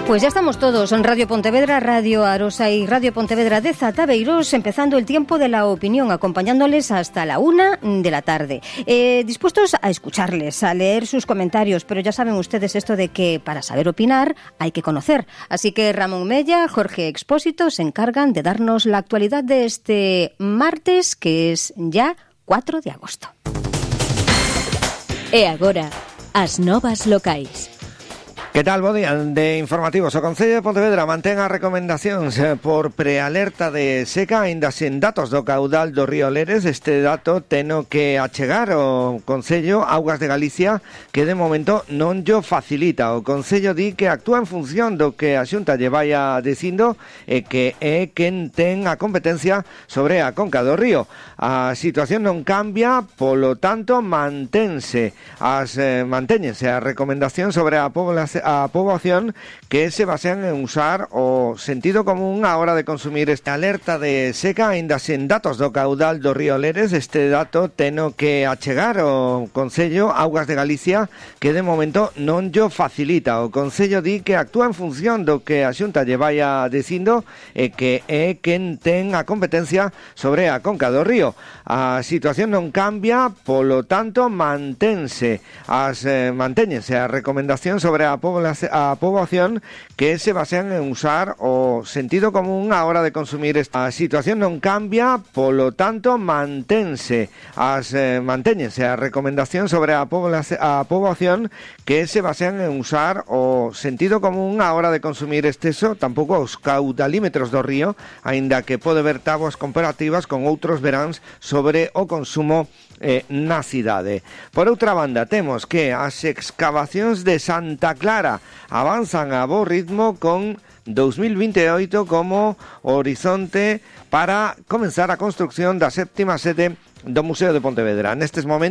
Pues ya estamos todos en Radio Pontevedra, Radio Arosa y Radio Pontevedra de Zatabeirós, empezando el tiempo de la opinión, acompañándoles hasta la 1 de la tarde. Dispuestos a escucharles, a leer sus comentarios, pero ya saben ustedes esto de que para saber opinar hay que conocer. Así que Ramón Mella, Jorge Expósito se encargan de darnos la actualidad de este martes, que es ya 4 de agosto. E agora, as novas locais. Que tal, bo día de informativos. O Concello de Pontevedra mantén as recomendacións por prealerta de seca aínda sen datos do caudal do río Leres. Este dato teno que achegar o Concello Augas de Galicia, que de momento non llo facilita. O Concello di que actúa en función do que a Xunta lle vaya dicindo e que é quen ten a competencia sobre a conca do río. A situación non cambia, polo tanto mantéñense as recomendacións sobre a poboación que se basean en usar o sentido común a hora de consumir esta alerta de seca aínda sen datos do caudal do río Leres. Este dato teno que achegar o Concello Augas de Galicia, que de momento non llo facilita. O Concello di que actúa en función do que a Xunta lle vaya dicindo e que é quen ten a competencia sobre a conca do río. A situación non cambia, polo tanto mantéñense as recomendacións sobre a poboación que se basean en usar o sentido común a hora de consumir esta situación non cambia, polo tanto mantéñense as recomendacións sobre a poboación que se basean en usar o sentido común a hora de consumir exceso, tampouco os caudalímetros do río, aínda que pode haber táboas comparativas con outros veráns sobre o consumo na cidade. Por outra banda, temos que as excavacións de Santa Clara avanzan a bo ritmo con 2028 como horizonte para comenzar a construcción da séptima sede do Museo de Pontevedra. Nestes momentos